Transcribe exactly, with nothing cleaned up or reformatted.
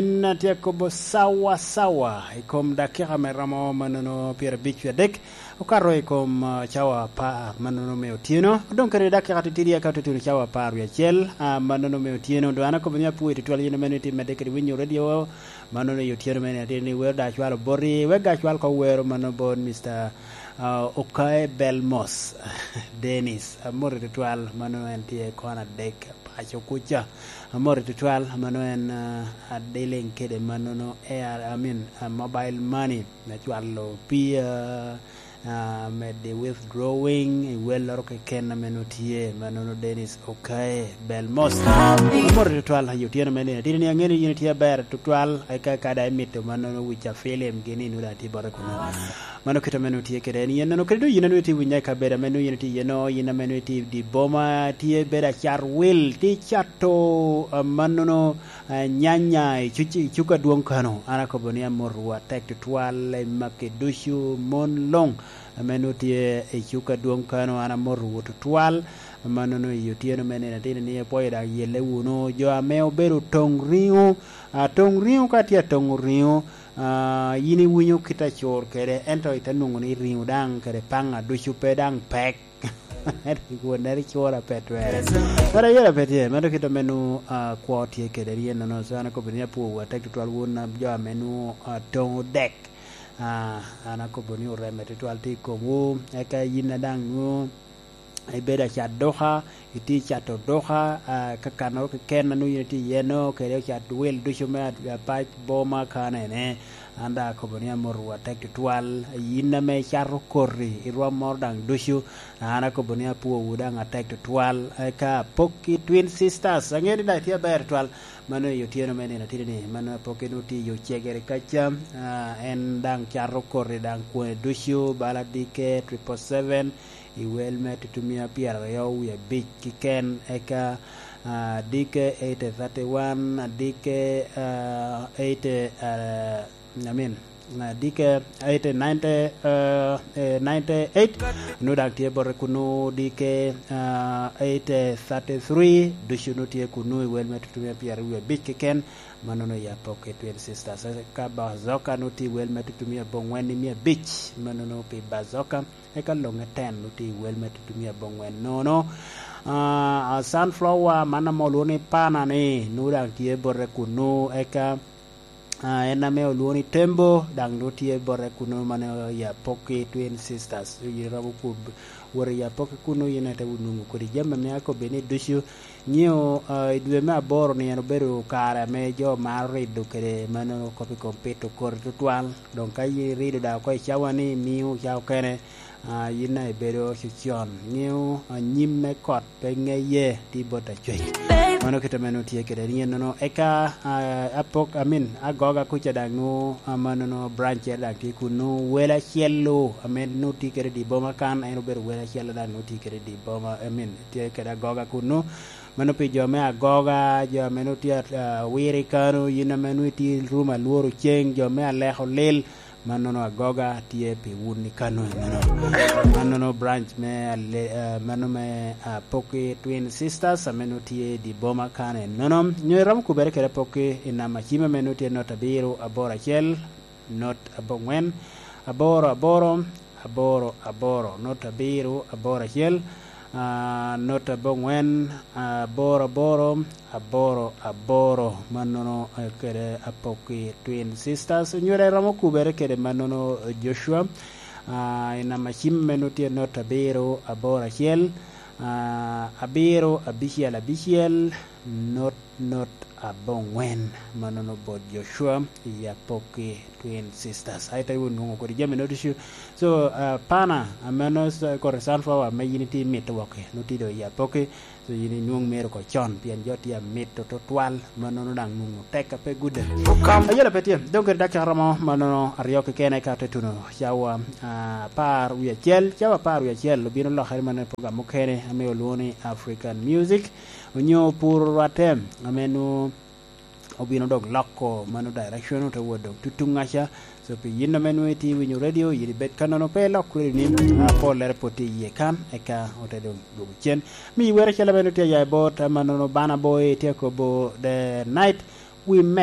En atye akobo sawa sawa i kom dakika me romo manono pyerabic wie adek, okato i kom, ah, cawa apar manono me otyeno. Odong kede dakika titidi aka otutuno cawa apar wie acel, ah, manono me otyeno. Dong an akobo ni apwoyo tutwal yin manono itye medde kede winyo radio manono i otyeno mene atye ni wero da acwalo boti, wek ga acwal ko wero manono bot Mister, ah, Okae Belmos Dennis. Amoti tutwal, manono en tye kona adek paco kuca. Amoti tutwal, mano en, ah, a dealing kede manono air, I mean, ah, mobile money, me cwalo pii, ah, ah, mede withdrawing, i welloro keken ame nongo tye, manono Dennis Okae Belmos. Amoti tutwal, aye otyeno me nino. Tini ni angeyo ni yin itye aber tutwal, eka ka da imito manono wica film gini, nwoda tye bote kuno. Mano kit ame nwoŋo tye kede en yen nono. Kede doŋ yin a nwoŋo itye winya i kabedo ame nwoŋo yin itye iye no, yin ame nwoŋo itye i dye boma, tye bedo acat wil, tye cato, ah, mannono, ah, nyanya i cuc-, i cuk adwoŋ kano. An akobo ni amotowu atek tutwal i maki ducu, mon luŋ ame nwoŋo tye i cuk adwoŋ kano, an amotowu tutwal. Mannono i otyeno me nino atino ni ipwoyo daŋ yelle wunu. Jo ame obedo toŋ riŋo, ah, toŋ riŋo ka tye atoŋo riŋo, ah, yin iwinyo kit acur kede, ento ite nwoŋo ni riŋo daŋ kede paŋa ducu pe daŋ pek. Wonnere cura pe twere. Kara yela pe tye, meno kit ame nwoŋo, ah, kwo tye kede ryenono. So an akobo ni apwowu atek tutwal wun, ah, jo ame nwoŋo, ah, toŋo dek. Ah, an akobo ni oreme tutwal tye i komwu. Eka yin a daŋ nwoŋo ibedo acat duka, itye cato duka, ah, kakano keken a nwoŋo yin itye iye no, kede ocat wil ducu me ad-, apac boma kanene. An daŋ akobo ni amotowu atek tutwal. Yin ame icato koti i rwom moro daŋ ducu, an akobo ni apwowu daŋ atek tutwal. Eka apok i Twin Sisters, aŋeo ni daŋ itye aber tutwal. Mano i otyeno me nino atidi ni, mano apok en otye i ocegere kaca. Ah, en daŋ cato koti daŋ kwone ducu, bala dike, triple seven, i wel me tutumia pyeraryo wie abic keken, eka, ah, dike eight thirty one, dike, ah, eight, ah, I mean, ah, dike eight ninety, ah, eh, ninety eight, nu daŋ tye bote kunu, dike, ah, eight thirty three, ducu nu tye kunu i wel me tutumia pyeraryo wie abic keken, manono ya pok i Twin Sisters. Ka Bazoka nu tye i wel me tutumia bongwen i mia abic, manono pi Bazoka. Eka Loŋe Ten otye i wel me tutumia bongwen nono. Ah, ah, Sunflower, man ame olwoŋo ni Pana ni, nwoŋo daŋ tye bote kunu. Eka, ah, en ame olwoŋo ni Tembo, daŋ nwoŋo tye bote kunu, mano i Apoki Twin Sisters. Yin iromo kub-, wot i Apoki kunu, yin ite nwoŋo kodi jami ame akobbi ni ducu. Nyiŋo, ah, i dwe me aboro ni en obedo kare ame jo maro rido kede mano kop i kom pito koti tutwal. Doŋ ka yin irido daŋ oko i cawa ni, miŋo ca okene, ah, yin daŋ ibedo cocon. Nyiŋo, ah, nyim me kot pe ŋeye, tye bot acwec. Mano kit ame nwoŋo tye kede nino. Eka, ah, apok, I mean, agoga kuca daŋ nwoŋo, ah, manono branch daŋ tye kunu. Wel acel-lu ame nwoŋo tye kede i dye boma kan, en obedo wel acel daŋ nwoŋo tye kede i dye boma, I mean, tye kede agoga kunu. Mano pi jo me agoga, jo ame nwoŋo tye, ah, awiro i kano, yin ame nwoŋo itye i rum alworo ceng, jo me aleko lil, mannono agoga tye pi wun i kano enono. Mannono branch me ale-, ah, mano me, ah, Apoki Twin Sisters ame nwoŋo tye i dye boma kan enono. Nyo iromo kubere kede Apoki i namba cim ame nwoŋo tye not abiro aboro acel, not abongwen, aboro aboro, aboro aboro, not abiro aboro acel, ah, not abongwen, aboro aboro, aboro aboro. Mannono, eh, kede Apoki Twin Sisters. Onywera iromo kubere kede mannono, eh, Joshua. Ah, i namba cim me nwoŋo tye not abiro aboro acel, ah, abiro abicel abicel, not not abongwen, mannono bot Joshua i Apoki Twin Sisters. Ai, te wun nwoŋo kodi jami no ducu. So, ah, Pana, ame no s-, kore Sunflower, ame yin itye imito wok-ki, nwoŋo tye doŋ i Apoki. So, yin inwoŋ mero oko con, pien jo tye amito tutwal, mannono daŋ nwoŋo tek a pe gudde. Ayela pe tye, doŋ kede dakika romo, mannono aryo keken eka te tuno cawa, ah, apar wie acel, cawa apar wie acel, obino lokere mannono i program mukene, ame olwoŋo ni African Music. Onyo puro rwatte, ame nwoŋo obino dok loko mano direction, ote wot dok tutuŋ aca. So, pi yin ame nwoŋo itye winyo radio, yin ibed kannono, pe ilok radio ni, ah, pollere pwod tye iye kan, eka ote dong duogo cen. Mi wero acel ame nwoŋo tye aya i bot, ah, mannono Bana Boy, tye akobo The Night We Met.